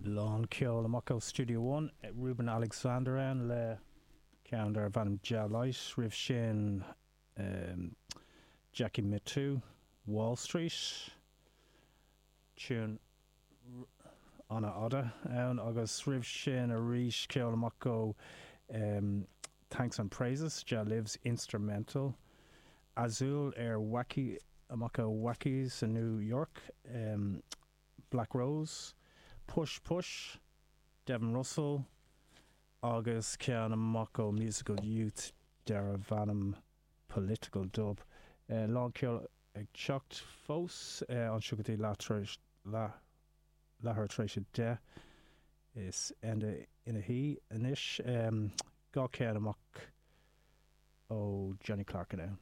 Lán ceoil amach ó Studio One, Ruben Alexander ann le ceann darbh ainm Jah Light, roimh sin Jackie Mittoo, Wall Street, tune an-fhada ann agus roimh sin arís ceol amach ó Thanks and Praises, Jah Lives instrumental, Azul ar Wacky amach ó Wackies i New York, Black Rose, Push Push, Devin Russell agus ceann amach ó Musical Youth darbh ainm Political Dub. Lán ceoil ag teacht fós anseo go dtí leath tar éis leathuair tar éis 10. Is Enda ina shuí anois. 2 ceann amach ó Johnny Clarke ann.